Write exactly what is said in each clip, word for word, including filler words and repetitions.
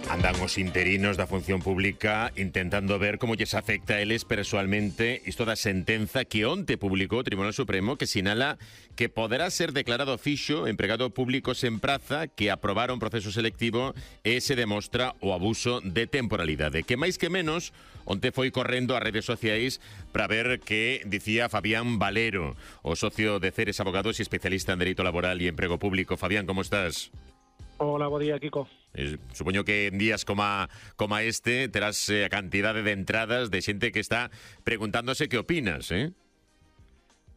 Andan os interinos da función pública intentando ver como lles afecta a eles persoalmente isto da sentenza que onte publicou o Tribunal Supremo, que sinala que poderá ser declarado fixo empregado público sen praza que aprobara un proceso selectivo e se demostra o abuso de temporalidade. Que máis que menos, onte foi correndo ás redes sociais para ver que dicía Fabián Valero, o socio de Ceres Abogados e especialista en Dereito Laboral e Emprego Público. Fabián, como estás? Hola, bo día, Kiko. Eh, supoño que en días como, como este terás eh, a cantidade de entradas de xente que está preguntándose que opinas, eh?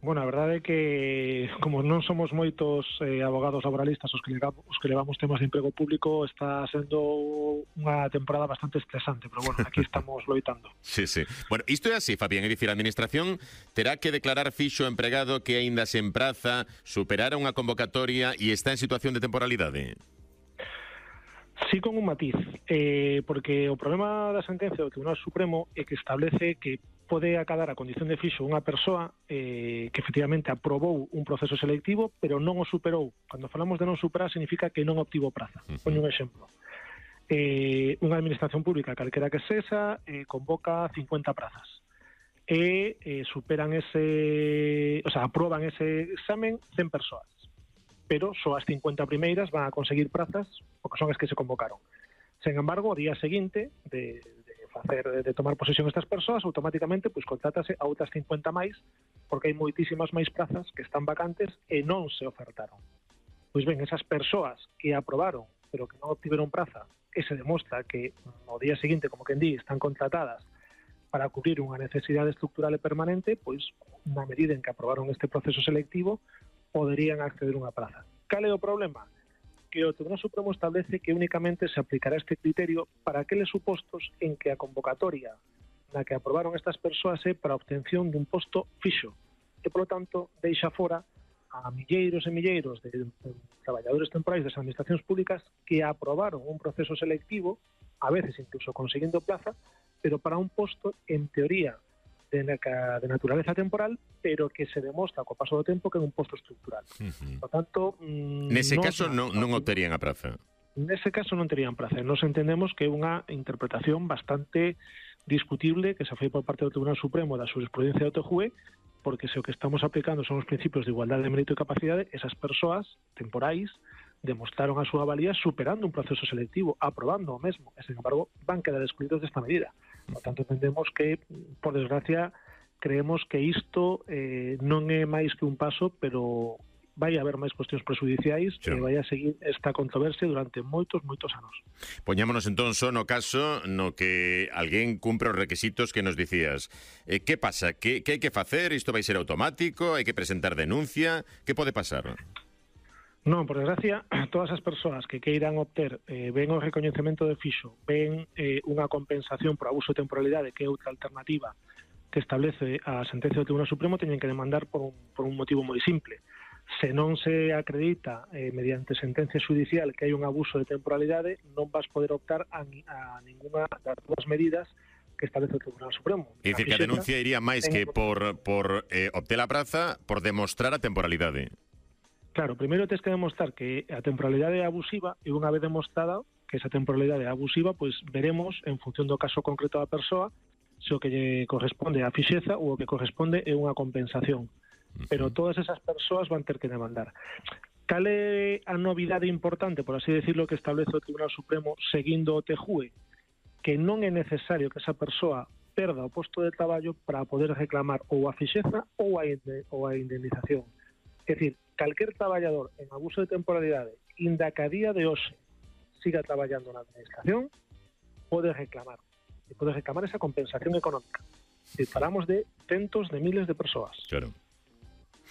Bueno, a verdade é que como non somos moitos eh, abogados laboralistas os que, levamos, os que levamos temas de emprego público, está sendo unha temporada bastante estresante, pero bueno, aquí estamos loitando. Sí, sí. Bueno, isto é así, Fabián, é dicir, a Administración terá que declarar fixo empregado que aínda se empraza, superara unha convocatoria e está en situación de temporalidade. Sí, con un matiz, eh, porque o problema da sentencia do Tribunal Supremo é que establece que pode acadar a condición de fixo unha persoa eh, que efectivamente aprobou un proceso selectivo, pero non o superou. Cando falamos de non superar, significa que non obtivo praza. Uh-huh. Poño un exemplo. Eh, unha administración pública, calquera que sexa, eh, convoca cincuenta prazas. E eh, superan ese... O sea, aproban ese examen cen persoas. Pero só as cincuenta primeiras van a conseguir prazas porque son as que se convocaron. Sen embargo, o día seguinte de, de facer de tomar posesión estas persoas, automáticamente pois contrátase a outras cincuenta máis, porque hai moitísimas máis prazas que están vacantes e non se ofertaron. Pois ben, esas persoas que aprobaron, pero que non obtiveron praza, e se demostra que o día seguinte, como quen di, están contratadas para cubrir unha necesidade estructural e permanente, pois na medida en que aprobaron este proceso selectivo, poderían acceder a unha praza. Cal é o problema? Que o Tribunal Supremo establece que únicamente se aplicará este criterio para aqueles supostos en que a convocatoria na que aprobaron estas persoas é para a obtención dun posto fixo e, polo tanto, deixa fora a milleiros e milleiros de, de traballadores temporais das administracións públicas que aprobaron un proceso selectivo, a veces incluso conseguindo plaza, pero para un posto, en teoría, de, de naturaleza temporal, pero que se demostra co paso do tempo que é un posto estructural. Uh-huh. Por tanto, mmm, nese non, caso non, non o terían a praza. Nese caso non terían praza. Nos entendemos que é unha interpretación bastante discutible que se foi por parte do Tribunal Supremo da jurisprudencia do T J U E, porque se o que estamos aplicando son os principios de igualdade de mérito e capacidade, esas persoas temporais demostraron a súa valía superando un proceso selectivo, aprobando o mesmo, e, sen embargo, van quedar excluídos desta medida. Por tanto, entendemos que, por desgracia, creemos que isto eh, non é máis que un paso, pero vai haber máis cuestións prejudiciais e vai a seguir esta controversia durante moitos, moitos anos. Poñámonos entón só no caso no que alguén cumpre os requisitos que nos dicías. Eh, que pasa? Que, que hai que facer? Isto vai ser automático? Hai que presentar denuncia? Que pode pasar? Non, por desgracia, todas as persoas que queiran obter eh, ben o recoñecemento de fixo, ben eh, unha compensación por abuso de temporalidade, que é outra alternativa que establece a sentencia do Tribunal Supremo, teñen que demandar por un, por un motivo moi simple. Se non se acredita eh, mediante sentencia judicial que hai un abuso de temporalidade, non vas poder optar a, a ninguna das dúas medidas que establece o Tribunal Supremo. É dicir, que a denuncia iría máis que por, por eh, obter a praza, por demostrar a temporalidade. Claro, primeiro tens que demostrar que a temporalidade é abusiva e unha vez demostrada que esa temporalidade é abusiva, pois veremos en función do caso concreto da persoa se o que lle corresponde é a fixeza ou o que corresponde é unha compensación. Pero todas esas persoas van ter que demandar. Cal é a novidade importante, por así decirlo, que establece o Tribunal Supremo seguindo o T J U E? Que non é necesario que esa persoa perda o posto de traballo para poder reclamar ou a fixeza ou a, ou a indemnización. É dicir, calquer traballador en abuso de temporalidade, inda que a día de hoxe siga traballando na administración, pode reclamar. E pode reclamar esa compensación económica. E falamos de centos de miles de persoas. Claro.